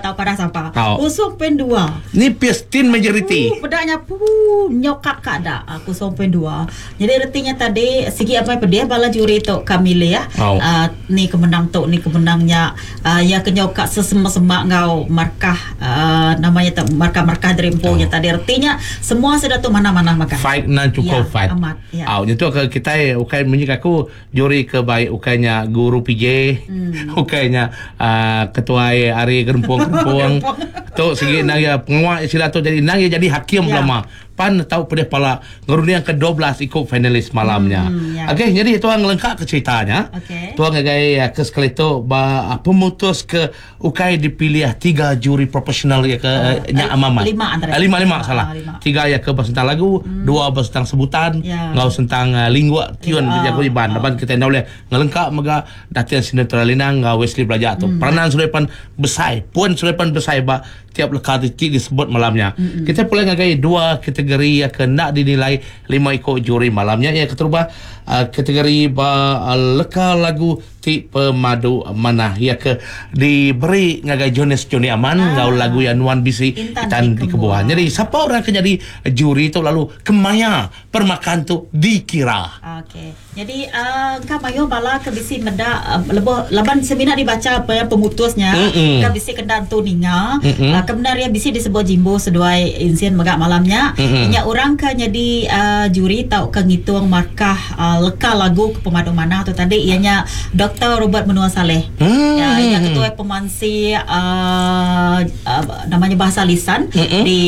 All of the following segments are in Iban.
tau padah sapa. Tau. 0.2. Ni pis tin majoriti. Puh peda nya puh nyokap ka da 0.2. Jadi reti nya tadi sigi amai pedih bala juri tu ka milih Au. uh, ni ke menang tu ni ke menang nya uh, iya ke nyau ka sesema-sema enggau markah uh, nama nya tu markah-markah diri empu nya tadi reti nya semua sida tu manah-manah makai. Fight nan cukup Ya, fight. amat, ya. Au nyentuk ke kitai ukai munyi ke aku juri ke baik ukai nya guru PJ, ukai nya uh, ketuai ari gerempung-gerempung. tu sigi nang iya pengawa sida tu jadi nang iya jadi hakim Ya. belama. Pan tau pedih pala ngerunding ke 12 iku finalis malam nya. Hmm, ya. Okey, jadi tuan ngelengkap ke cerita nya. Okey. Tuan ngagai eh, ke sekali tu ba ah, pemutus ke ukai dipilih tiga juri profesional ya ke eh, nya amamat. lima antara. Eh, lima lima Ah, salah. lima. Tiga ya ke ba sentang lagu, dua ba sentang sebutan, Ya. enggau sentang uh, lingua tiun Ah, jaku Iban. Laban kita enda boleh ngelengkap mega Datin Sinetron Linang enggau Wesley Belaja tu. Peranan Surepan besai, pun Surepan besai ba tiap leka ti ti disebut malam nya. Kita pulai ngagai dua kategori ya ke enda dinilai lima iku juri malam nya. Yang keterubah uh, kategori ba uh, leka lagu ti pemadu manah ya ke diberi ngagai Jonas Johnny Aman Ah. enggau lagu yang Nuan Bisi Intan Intan di di Kebuan. Kebuan. Jadi siapa orang ke jadi juri tu lalu kemaya permakan tu dikira. Okey. Jadi uh, engka mayuh bala ke bisi meda uh, lebuh laban semina dibaca apa yang pemutusnya Mm-mm. ke bisi kenda entu ninga Mm-mm. uh, kebenar iya bisi disebut Jimbo seduai Insin mega malamnya Mm-mm. nya orang ke jadi uh, juri tau ke ngitung markah uh, leka lagu ke pemadu manah tu tadi ianya Dr. Robert Menua Saleh. Hmm. Ya, iya ketua pemansi uh, uh, namanya bahasa lisan Mm-mm. di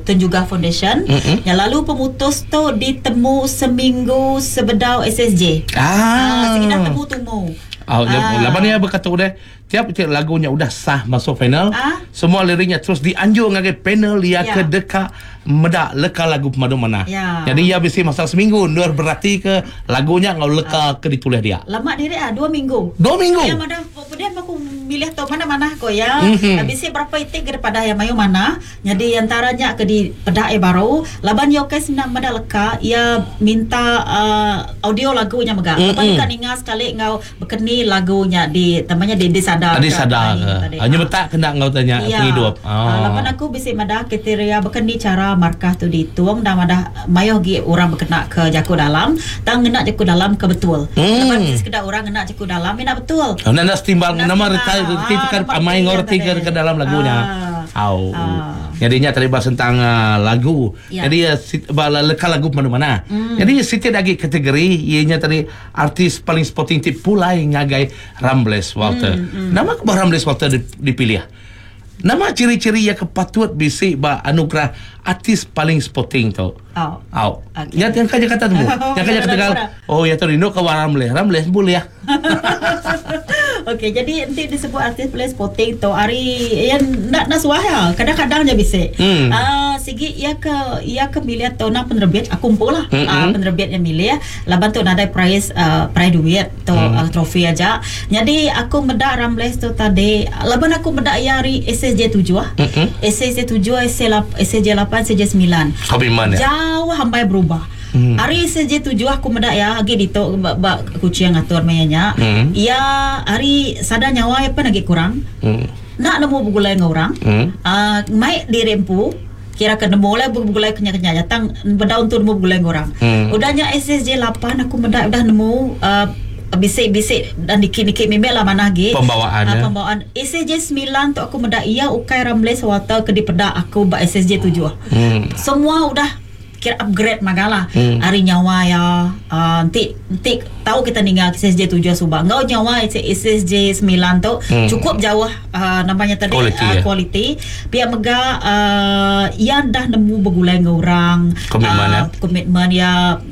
Tun Jugah Foundation. Mm-mm. Ya, lalu pemutus tu ditemu seminggu sebedau SSJ. Ah. Ah, sekitar temu tumu. Oh, ah. Laban dia berkata udah tiap-tiap lagunya udah sah masuk final. Ah. Semua liriknya terus dianjur ngagai panel dia Ya. ke deka meda leka lagu pemadu mana. Ya. Jadi ia bisi masa seminggu nur berarti ke lagunya ngau leka ke ditulis dia. Lama diri ah dua minggu. Dua minggu. Ya mana kemudian aku milih tau mana-mana ko ya. Mhm. Mm-hmm. Habis berapa itik ke pada yang mayu mana. Jadi antaranya ke di pedak e baru laban yo ke senang meda leka ia minta uh, audio lagunya mega. Mm-mm. Lepas kan ninga sekali ngau bekeni lagunya di namanya di disadar. Adi sadar ke. Hanya betak kena ngau tanya Ya. penghidup. Ah. Laban aku bisi madah kriteria bekeni cara markah tu dihitung dan madah mayuh gi orang berkena ke jaku dalam tang ngena jaku dalam ke betul. Hmm. Laban bisi sekeda orang ngena jaku dalam ina betul. Oh, nak nak setimbang Nak nama setimbang. reti reti Ah, tekan nampak amai reti ngau reti tadi. ke ke dalam lagunya. Ah. Au. Ah. Jadinya tadi bahas tentang uh, lagu. Ya. Jadi uh, sit, bala leka lagu mana-mana. Jadi siti lagi kategori ianya tadi artis paling sporting ti pulai ngagai Rambles Walter. Nama ke Rambles Walter dipilih? Nama ciri-ciri yang kepatut bisi ba anugerah artis paling sporting tu. Oh. Au. Okey. Ya yang kaja kata tu. Yang kaja kata Kurang. oh ya tu rindu ke Rambles. Rambles boleh ya. Okey, jadi nanti disebut artis play sporting tu hari yang nak nak suah ya. Kadang-kadang je bisa. Hmm. Ah, sigi ia ke ia ke milih tu nak penerbit aku kumpul lah. Hmm, Ah, hmm. penerbit yang milih laban tu nadai prize uh, prize duit tu Hmm. uh, trofi aja. Jadi aku medak Rambles tu tadi laban aku medak ia hari SSJ 7 ah. Hmm, hmm. SSJ 7, SSJ 8, SSJ 9. Komitmen ya. Jauh hampai berubah. Hmm. Hari SSJ 7 aku medak ya agi ditu ba, ba kucing ngatur mayanya. Hmm. Ya hari sadar nyawa ya pun lagi kurang. Hmm. Nak nemu begulai dengan orang. Hmm. Ah, mai diri empu kira ke nemu lah begulai kenya-kenya datang bedaun tu nemu begulai dengan orang. Hmm. Udahnya SSJ 8 aku medak udah nemu uh, bisik-bisik dan dikit-dikit memel lah mana lagi. Pembawaan, Ah, ya. pembawaan SSJ 9 tu aku medak ia ukai Ramles Walter ke dipedak aku ba SSJ 7. Hmm. Semua udah kira upgrade magalah. Hmm. Hari nyawa ya uh, nanti nanti tahu kita ninggal SSJ 7 subang. Ngau nyawa SSJ 9 tu Hmm. cukup jauh uh, namanya tadi Quality, uh, ya. quality. Pihak mega uh, ia dah nemu begulai dengan orang. Komitmen, Ah, ya. Komitmen ya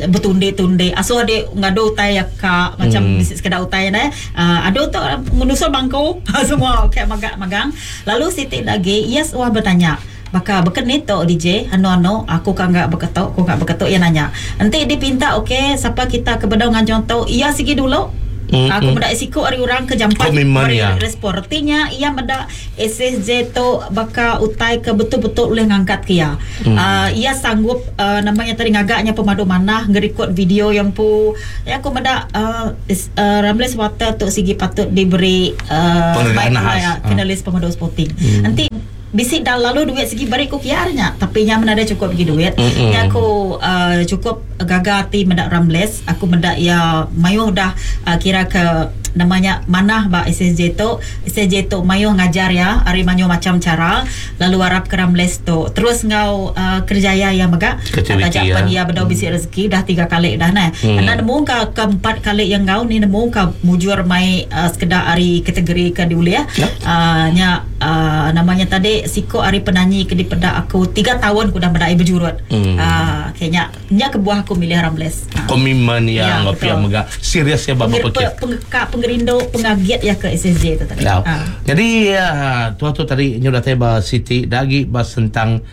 bertunde-tunde. Aso adik ngadu utai ya kak macam Hmm. hmm. sekedar utai ne. Uh, adu tu menusul bangku semua kayak magang-magang. Lalu Siti lagi yes wah bertanya. Baka bekeni tu DJ anu-anu aku kan enggak beketok aku enggak beketok ia nanya. Nanti dipinta okey siapa kita ke bedau ngajong tu ia sigi dulu. Mm, Aku mm. medak siku ari orang ke jampat Komitmen, ari ya. respon. Artinya ia medak SSJ tu baka utai ke betul-betul boleh ngangkat ke ia. Hmm. Uh, ia sanggup uh, namanya tadi ngagaknya pemadu manah ngerekod video yang pu ya aku medak uh, is, uh, Ramles Water tu sigi patut diberi uh, Penghargaan baik khas. lah, Ah. finalis pemadu sporting. Hmm. Nanti Bisi dah lalu duit sigi beri ku kiar nya tapi nya meh nadai chukup agi duit. Nya aku uhh chukup gaga ati meda Ramles aku meda iya mayuh udah kira ke nama nya manah ba SSJ tu. SSJ tu mayuh ngajar iya ari mayuh macham chara lalu arap ke Ramles tu terus enggau uhh kerjaya iya mega taja pen iya bedau bisi rezeki dah tiga kali dah neh. Enda nemu ka ke empat kali iya enggau ni nemu ka mujur mai sekeda ari kategori ke diulih uhh nya. Aaa nama nya tadi siko ari penanyi ke dipeda aku tiga taun ku udah meda iya bejurut. Aaa okay nya nya kebuah aku milih Ramles. Aa. Komitmen iya Ya enggau pia betul. mega serius iya ba Pengeri bepekit. pengeka pengerindu pengagit iya ke SSJ tu tadi. Au. Aa. Nyadi aaa tuah tu tadi nyu datai ba siti da agi ba sentang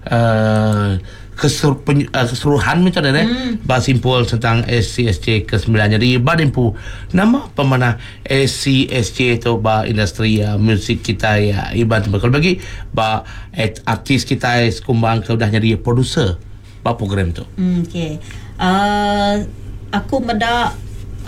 aaa Kesur, pen, uh, keseluruhan meh tadi eh mm. ba simpul tentang SCSJ ke-9. Jadi ba dimpu nama pemanah SCSJ tu ba industri uh, muzik kita ya Iban tu kalau bagi ba at, artis kita sekumbang ke udah jadi producer ba program tu. Mm, okay. Uh, aku meda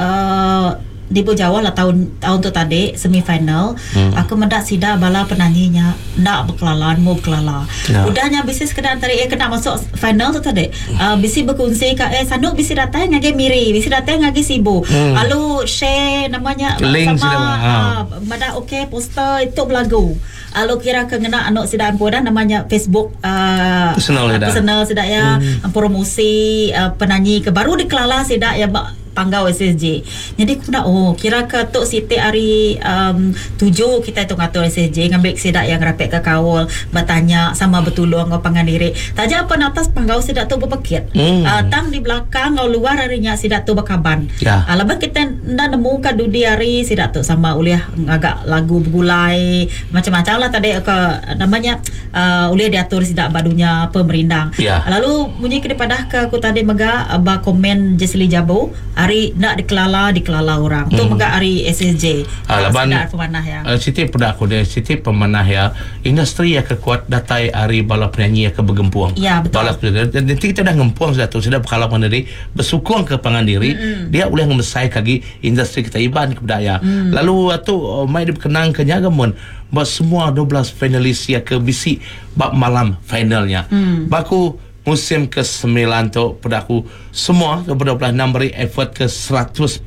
uh, di Bujau Jauh lah taun taun tu tadi semi final hmm. aku meda sida bala penanyi nya enda bekelala nemu bekelala. Ya. Udah nya bisi sekeda antara iya kena masuk final tu tadi. Uh, bisi bekunsi ka eh sanu bisi datai ngagai Miri, bisi datai ngagai Sibu. Hmm. Lalu share namanya link sama ha. uh, meda okey poster itu belagu. Lalu kira ke ngena anu sida empu dah namanya Facebook uh, personal sida. Personal sida ya hmm. promosi uh, penanyi ke baru dikelala sida ya ba Panggau SSJ. Nyadi ku meda oh kira ke tu siti ari um tuju kitai tu ngatur SSJ ngambi sida iya ngerapit ke kaul betanya sama betulung enggau pangan diri. Taja pen atas panggau sida tu bepekit Hmm. uhh tang di belakang enggau luar ari nya sida tu bekaban. Ya. Uhh laban kitai enda nemu ka dudi hari sida tu sama ulih ngaga lagu begulai macam-macam lah tadi ke nama nya uhh ulih diatur sida ba dunya pemerindang. Ya. Lalu munyi ke dipadahka aku tadi mega ba komen Jesly Jabu ari enda dikelala dikelala orang. Tu mega ari SSJ. Ah, laban Sida pemanah iya. Uh, siti peda aku deh, siti pemanah iya, industri iya ke kuat datai ari bala penyanyi iya ke begempung. Ya, betul. Bala penyanyi. Enti kita udah ngempung sida tu, sida bekala pangan diri, besukung ke pangan diri, mm-hmm. dia ulih ngemesai ke agi industri kita Iban ke peda iya. Mm. Lalu tu mai dibekenang ke nya ga mun ba semua 12 finalis iya ke bisi ba malam final nya. Mm. Ba aku musim ke semilan tu peda aku semua 26 meri effort ke 100%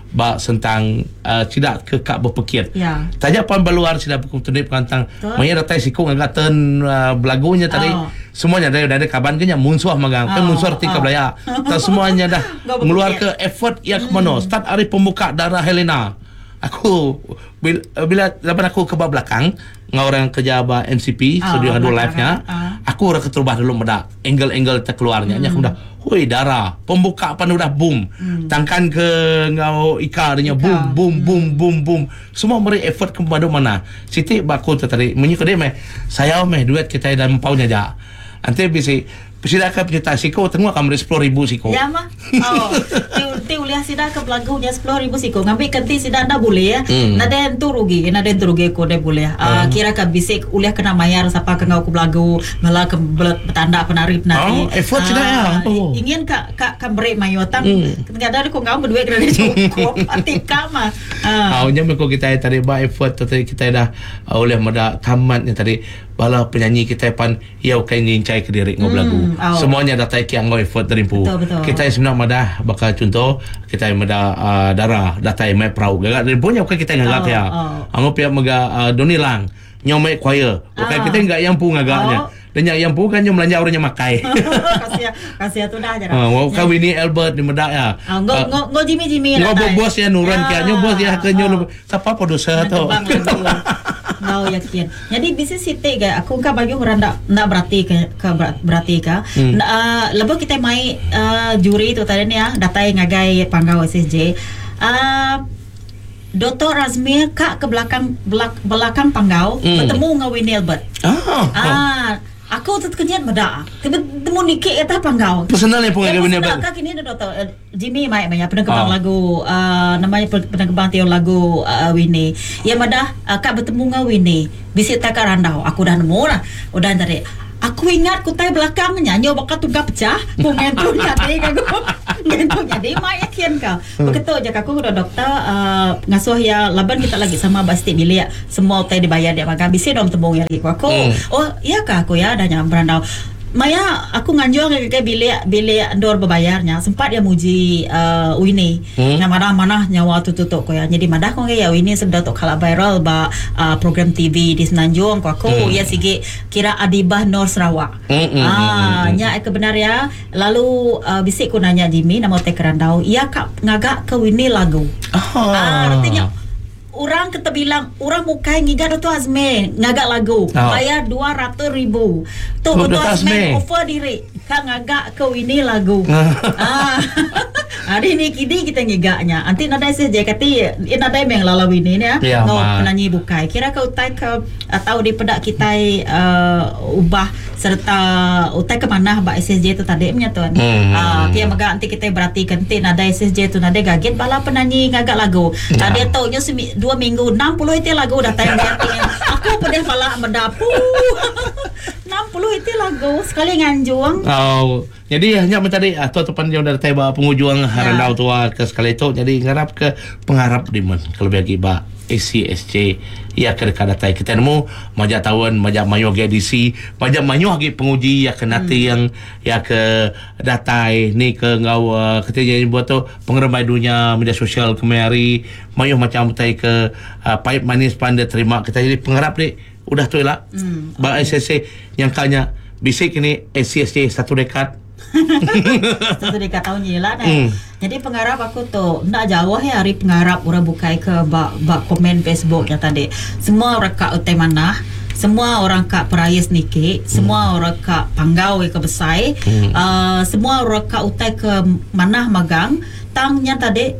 ba sentang uh, sida ke ka bepekit. Ya. Taja pan ba luar sida bekuntundi pengantang Betul. maya datai siku ngaga turn uh, belagu nya tadi Oh. semuanya ada ada kaban ke nya munsuh magang. Kan Oh, munsuh reti ke oh. belaya. Tak semuanya dah Enggau bepekit. ngeluar ke effort ya ke mana. Start ari pembuka Dara Helena. Aku bila, bila laban aku ke ba belakang enggau orang kerja ba MCP Ah, studio ngadu belakang, live nya. ah. Aku orang keterubah dulu meda angle-angle terkeluar nya. Nya aku meda, hui Dara, pembuka pan udah boom. Tangkan ke enggau Ika dia nya boom boom boom boom boom. Semua meri effort ke pemadu manah. Siti ba aku tu tadi munyi ku dia meh sayau meh duit kitai dalam empau nya aja. Enti bisi Sida ke penyerta siku tenguk ka meri 10,000 siku. Ya mah. Oh. Ti ti ulih sida ke belagu nya 10,000 siku ngambi ke enti sida enda bulih Hmm. nadai entu rugi nadai entu rugi ku deh bulih. Uh, kira ke bisi ulih kena mayar sapa ke enggau ke belagu bala ke betanda penari penari. Oh, effort sida ya. Oh. Ingin ka ka ka meri mayuh tang hmm. Kadang ku enggau beduit kena cukup ati ka mah. Uh. Uh, nya meh ku kitai tadi ba effort tadi kitai dah uh, ulih meda tamat nya tadi bala penyanyi kitai pan Iya ukai nginchai kediri enggau belagu. Semua nya datai ke enggau effort diri empu. Kitai semina madah baka chunto kitai meda uhh dara datai mai perau gaga diri empu nya ukai kitai ngaga ke iya. Enggau pia mega uhh Donny Lang nyau mai choir ukai kitai ngaga iya empu ngaga nya. Da nya iya empu kan nyau belanja orang nya makai. Uhh ukai Winnie Albert di meda iya. Enggau bos iya nurun ke iya nyau bos iya ke nyau sapa producer tu. Enggau yakin. Nyadi bisi siti ga aku engka mayuh orang enda enda berati ke ke berati ka. Hmm. Uh, lebuh kitai mai uh, juri tu tadi ni ah datai ngagai panggau SSJ. Uh, Dr. Razmir ka ke belakang belak, belakang panggau Hmm. betemu enggau Winnie Albert. Ah. Ah, aku tu tekenyit meda. Temu niki atas panggau. Personal yang pun Ya, ngagai Winnie personal Albert. ka kini Dr. Jimmy mai maya penengkebang Ah. lagu uh, nama iya penengkebang tiun lagu uh, Winnie. Iya madah uh, ka betemu enggau Winnie. Bisi tai ka randau. Aku udah nemu lah. Udah tadi. Aku ingat ku tai belakang nya nyau baka tungga pecah ku ngentu nyadi ka aku. Ngentu nyadi mai yakin ka. Beketu ja ka aku enggau doktor uhh ngasuh iya laban kita lagi sama ba siti bilik semua utai dibayar dia magang bisi dong temu iya lagi ku aku. Oh iya ka ku iya dah nya berandau. Maya aku nganjung iya ngagai bilik bilik endur bebayar nya sempat iya muji uhh Winnie. Nya madah manah nyawa tu tu tu ku iya. Nyadi madah ku ngagai iya Winnie sebedau tu kala viral ba uhh program TV di Semenanjung ku aku. Iya sigi kira Adibah Nor Sarawak. Aaa nya ke bendar iya lalu uhh bisi ku nanya Jimmy nama utai kerandau iya ka ngaga ke Winnie lagu. Aaa reti nya Orang ke tebilang orang bukai ngiga Dato Azmeh ngaga lagu bayar 200 ribu. Tu Dato Azmeh offer diri ka ngaga ke Winnie lagu. Aaa ari ni kidi kita ngiga nya. Enti nadai seh je kati iya nadai meh ngelala Winnie nya enggau penanyi bukai. Kira ke utai ke tau dipeda kitai uhh ubah sereta utai ke manah ba SSJ tu tadi menya tun. Aaa pia mega enti kitai beratika enti nadai SSJ tu nadai gagit bala penanyi ngaga lagu. Yeah. Diatu nyu semi dua minggu 60 iti lagu datai ngagai ati aku pedih pala meda puh 60 iti lagu sekali nganjung. Oh. Jadi nya meh tadi atur tu pan udah datai ba pengujung yeah. randau tua ke sekali tu jadi ngarap ke pengarap dimen kelebih agi ba ACSJ iya ke deka datai kita nemu majak taun majak mayuh agi ADC majak mayuh agi penguji iya ke nating hmm. iya ke datai ni ke enggau uh, kita nyebut tu pengerembai dunya media sosial kemaya hari mayuh macam utai ke uh, pahit manis pan dia terima kita jadi pengarap ni Udah tu ila mm, ba okay. SSC nyangka nya bisi kini SCSC satu dekad. Satu dekad tahun je lah mm. Jadi pengarap aku tu enda jauh ya ari pengarap orang bukai ke ba ba komen Facebook nya tadi. Semua orang ka utai manah, semua orang ka perais niki, semua mm. orang ka panggau ke besai, mm. uh, semua orang ka utai ke manah magang tang nya tadi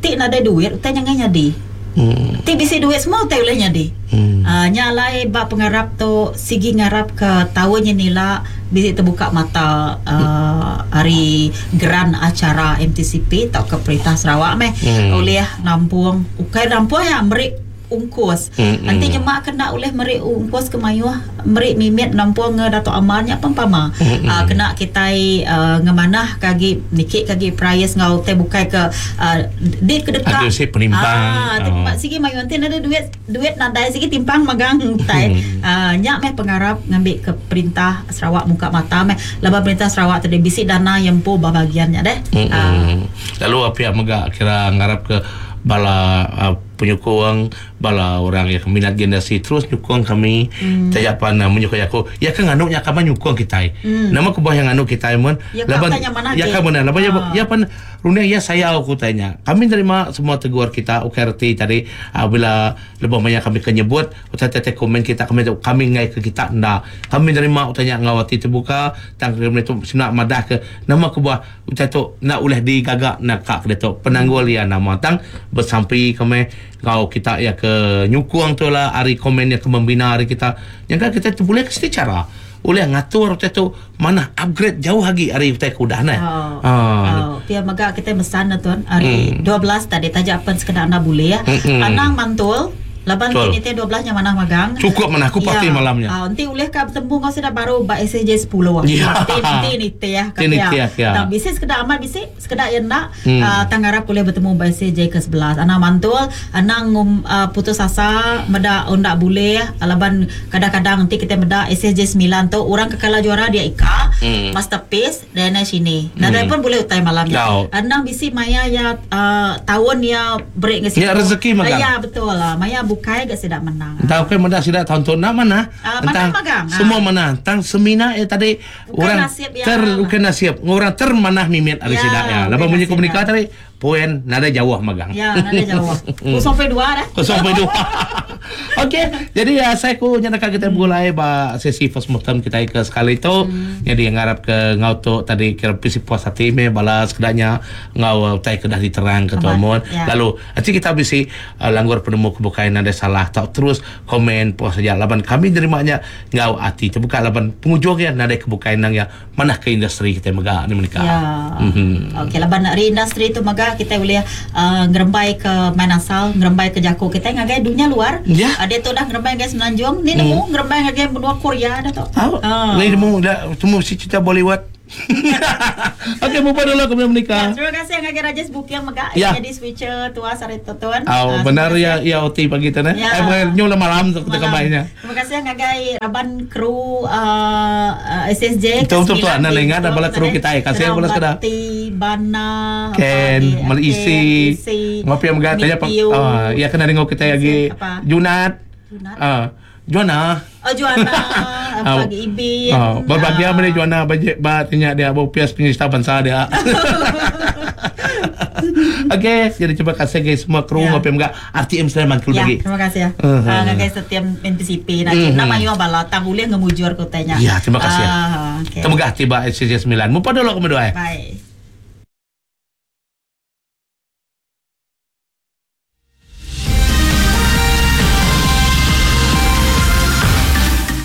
ti nadai duit utai nya ngai nyadi. Mm. Ti bisi duit semua utai ulih nyadi. Mm. Uh, nya alai ba pengarap tu sigi ngarap ke taun nya nila bisi terbuka mata uh, ari geran acara MTCP tauka Perintah Sarawak meh mm. ulih nampung ukai nampung ya meri ungkus. Mm-hmm. Enti nyema kena ulih meri ungkus ke mayuh meri mimit nampung nge Datuk Amar nya pun pama. Mm-hmm. Uh, kena kitai uh, ngemanah ke agi niki ke agi price ngau utai bukai ke uh, di ke deka. Ada si penimpang. Ah, oh. sigi mayuh enti nadai duit duit nadai sigi timpang magang utai. Mm. Uh, nya meh pengarap ngambi ke perintah Sarawak muka mata meh laban perintah Sarawak tadi bisi dana yang empu ba bagian nya deh. Mm-hmm. Uh. Lalu pihak mega kira ngarap ke bala uh, penyukung bala orang yang minat generasi terus nyukung kami hmm. taja pan uh, menyukung aku ya kan nganu nya kaban nyukung kitai hmm. nama kebuah yang nganu kitai mun ya laban ya kan mana laban ya, ya pan runding ya sayau aku tanya kami terima semua tegur kita ukai reti tadi uh, bila lebuh maya kami ke nyebut utai tete komen kita kami kami ngai ke kita nda kami terima utai nya ngau ati terbuka tang kami tu sina madah ke nama kebuah Utai tu enda ulih digaga naka ke ditu. Penanggul iya nama tang besampi ke meh enggau kita iya ke nyukung tu lah ari komen iya ke membina ari kita. Nyangka kita tu bulih ke siti chara ulih ngatur utai tu manah upgrade jauh agi ari utai ke udah neh. Oh. Oh. Pia mega kita mesan ne tuan ari 12 tadi taja pen sekeda enda bulih. Anang mantul Laban ti nitih 12 nya manah magang. Cukup manah aku parti ya. malam nya. Uh, enti ulih ka betemu enggau sida baru ba SSJ 10. Ya. Enti enti nitih ka pia. Ya. Tang bisi sekeda amat bisi, sekeda iya enda. Hmm. Uh, tang ngarap ulih betemu ba SSJ ke 11. Anang mantul, anang ngum, uh, putus asa meda enda bulih laban kadang-kadang enti kita meda SSJ 9 tu orang ke kala juara dia Ika, hmm. Masterpiece Diana Shini. Nadai hmm. pun boleh utai malam nya. Endang bisi maya ya uh, tahun ya break ngesi. Ya rezeki magang. Ya betul lah. Maya bukai ga sida menang. Entah okay meda sida tahun tu nak mana? Uh, mana magang. Semua uh. mana? Tang semina ya tadi bukan orang nasib ya. ter bukan nasib. Orang termanah mimit ari ya, sida ya. Laban bunyi komunika tadi Poin nadai jauh magang. Ya, nadai jauh. 0.2 dah. 0.2. Okey, jadi uh, saya ku nyadaka kita begulai ba sesi first mortem kita ke sekali tu. Hmm. Jadi ngarap ke ngau tu tadi kira bisi puas hati me bala sekedanya ngau utai ke dah diterang ke tu mun. Ya. Lalu enti kita bisi uh, langgur penemu ke bukai nadai salah tau terus komen post saja laban kami nerima nya ngau ati terbuka laban pengujung ya nadai ke bukai nang ya Manah ke industri kitai mega ni menika. Ya. Mhm. Okey laban ari industri tu mega. mega kitai ulih ngerembai ke main asal, ngerembai ke jaku kitai ngagai dunya luar. Ya. Diatu udah ngerembai ngagai Semenanjung, ni nemu ngerembai ngagai menua Korea dah tu. Tau. Ni nemu dah temu si cerita Bollywood. Okey bupa dulu kami menikah. Ya, terima kasih ngagai Rajesh Buking mega ya. nyadi switcher tua sehari tu tuan. Oh, uh, benar ya ya OT pagi tu ne. Ya. Eh nyu lah malam tu kita kembainya. Terima kasih ngagai raban kru uh, SSJ. Betul betul tu anda ingat bala kru kita eh. Kasih bala sekeda. Bana, Ken, Melisi. Ngopi mega tanya oh, ya kena dengar kita lagi Junat. Junat. Juana. Oh Juana, pagi Ibin. Oh, berbahagia meri Juana ba ba tinya dia ba upias penyerta bansa dia. Okey, jadi terima kasih guys semua kru Ya. ngopi mega RTM Sleman kru Ya, lagi. terima kasih ya. Ngagai setiap NPCP nak Mhm. nama mayuh bala tang ulih ngemujur ku tanya. Ya, terima kasih. Ah, okey. Terima kasih tiba SCC 9. Mupa dulu kami doa. Bye.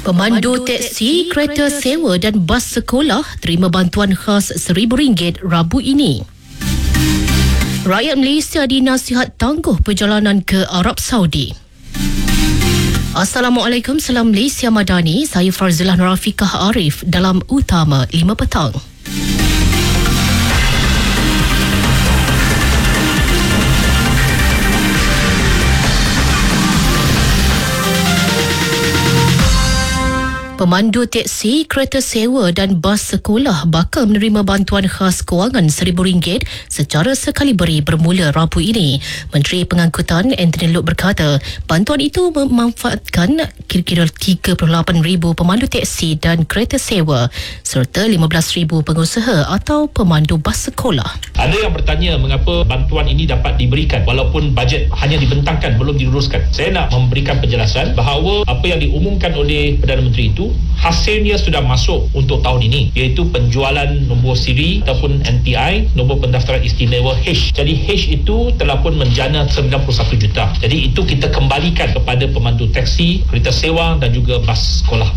Pemandu teksi, kereta sewa dan bas sekolah terima bantuan khas RM1,000 Rabu ini. Rakyat Malaysia dinasihat tangguh perjalanan ke Arab Saudi. Assalamualaikum, salam Malaysia Madani. Saya Farzilah Nurafikah Arif dalam Utama 5 Petang. Pemandu teksi, kereta sewa dan bas sekolah bakal menerima bantuan khas kewangan RM1,000 secara sekali beri bermula Rabu ini. Menteri Pengangkutan Anthony Loke berkata, bantuan itu memanfaatkan kira-kira 38,000 pemandu teksi dan kereta sewa serta 15,000 pengusaha atau pemandu bas sekolah. Ada yang bertanya mengapa bantuan ini dapat diberikan walaupun bajet hanya dibentangkan belum diluruskan. Saya nak memberikan penjelasan bahawa apa yang diumumkan oleh Perdana Menteri itu hasilnya sudah masuk untuk tahun ini, iaitu penjualan nombor siri ataupun NPI, nombor pendaftaran istimewa H. Jadi H itu telah pun menjana 91 juta. Jadi itu kita kembalikan kepada pemandu teksi, kereta sewa dan juga bas sekolah.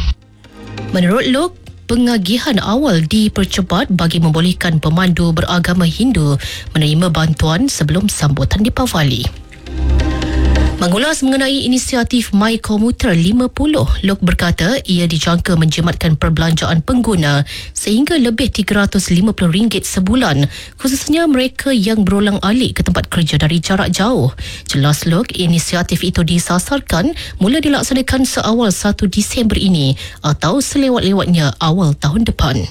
Menurut Loke, pengagihan awal dipercepat bagi membolehkan pemandu beragama Hindu menerima bantuan sebelum sambutan Deepavali. Mengulas mengenai inisiatif My Komuter 50, Loke berkata ia dijangka menjimatkan perbelanjaan pengguna sehingga lebih RM350 sebulan, khususnya mereka yang berulang alik ke tempat kerja dari jarak jauh. Jelas Loke, inisiatif itu disasarkan mula dilaksanakan seawal 1 Disember ini atau selewat-lewatnya awal tahun depan.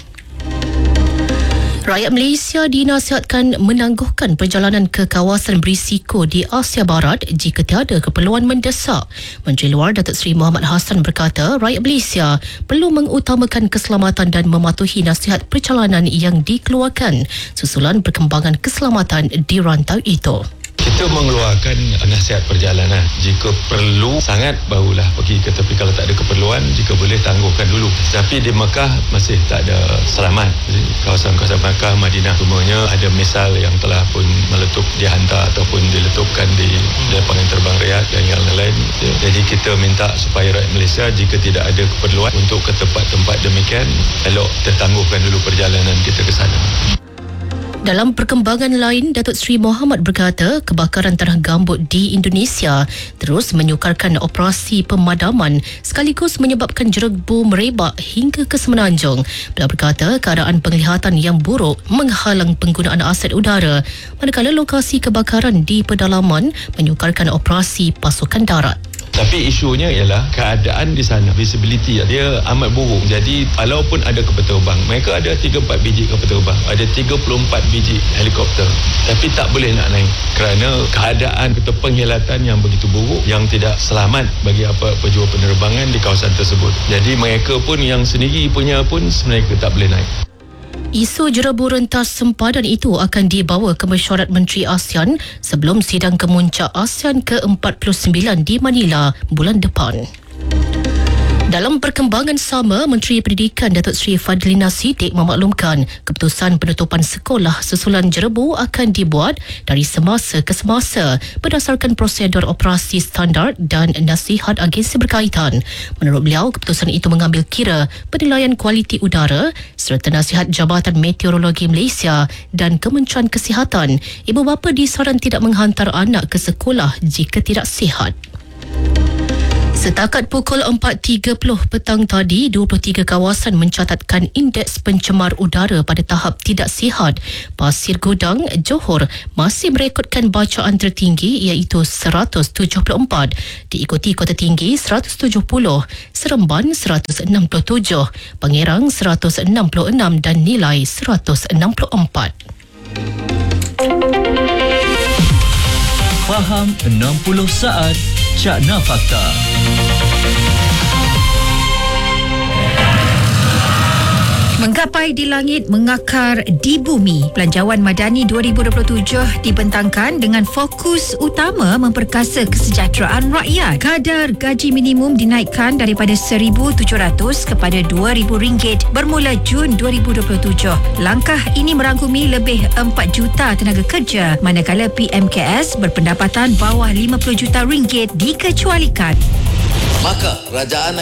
Rakyat Malaysia dinasihatkan menangguhkan perjalanan ke kawasan berisiko di Asia Barat jika tiada keperluan mendesak. Menteri Luar Datuk Seri Muhammad Hassan berkata rakyat Malaysia perlu mengutamakan keselamatan dan mematuhi nasihat perjalanan yang dikeluarkan susulan perkembangan keselamatan di rantau itu. Kita mengeluarkan nasihat perjalanan. Jika perlu sangat barulah pergi ke, tapi kalau tak ada keperluan jika boleh tangguhkan dulu. Tetapi di Mekah masih tak ada selamat. Kawasan-kawasan Mekah, Madinah semuanya ada misal yang telah pun meletup dihantar ataupun diletupkan di lapangan terbang Riyadh dan yang lain-lain. Jadi kita minta supaya rakyat Malaysia jika tidak ada keperluan untuk ke tempat-tempat demikian, elok tertangguhkan dulu perjalanan kita ke sana. Dalam perkembangan lain, Datuk Seri Muhammad berkata kebakaran tanah gambut di Indonesia terus menyukarkan operasi pemadaman sekaligus menyebabkan jerebu merebak hingga ke Semenanjung. Beliau berkata keadaan penglihatan yang buruk menghalang penggunaan aset udara manakala lokasi kebakaran di pedalaman menyukarkan operasi pasukan darat. Tapi isunya ialah keadaan di sana, visibility dia amat buruk. Jadi walaupun ada kapal terbang, mereka ada 3-4 biji kapal terbang, ada 34 biji helikopter, tapi tak boleh nak naik kerana keadaan atau penghilatan yang begitu buruk yang tidak selamat bagi apa pejuang penerbangan di kawasan tersebut. Jadi mereka pun yang sendiri punya pun sebenarnya tak boleh naik. Isu jerebu rentas sempadan itu akan dibawa ke mesyuarat Menteri ASEAN sebelum sidang kemuncak ASEAN ke-49 di Manila bulan depan. Dalam perkembangan sama, Menteri Pendidikan Datuk Seri Fadlina Sidek memaklumkan keputusan penutupan sekolah susulan jerebu akan dibuat dari semasa ke semasa berdasarkan prosedur operasi standard dan nasihat agensi berkaitan. Menurut beliau, keputusan itu mengambil kira penilaian kualiti udara serta nasihat Jabatan Meteorologi Malaysia dan Kementerian Kesihatan. Ibu bapa disaran tidak menghantar anak ke sekolah jika tidak sihat. Setakat pukul 4.30 petang tadi, 23 kawasan mencatatkan indeks pencemar udara pada tahap tidak sihat. Pasir Gudang, Johor masih merekodkan bacaan tertinggi iaitu 174, diikuti Kota Tinggi 170, Seremban 167, Pengerang 166 dan Nilai 164. Faham 60 saat, Cakna Fakta. Menggapai di langit, mengakar di bumi. Belanjawan Madani 2027 dibentangkan dengan fokus utama memperkasa kesejahteraan rakyat. Kadar gaji minimum dinaikkan daripada RM1,700 kepada RM2,000 bermula Jun 2027. Langkah ini merangkumi lebih 4 juta tenaga kerja manakala PMKS berpendapatan bawah 50 juta ringgit dikecualikan. Maka kerajaan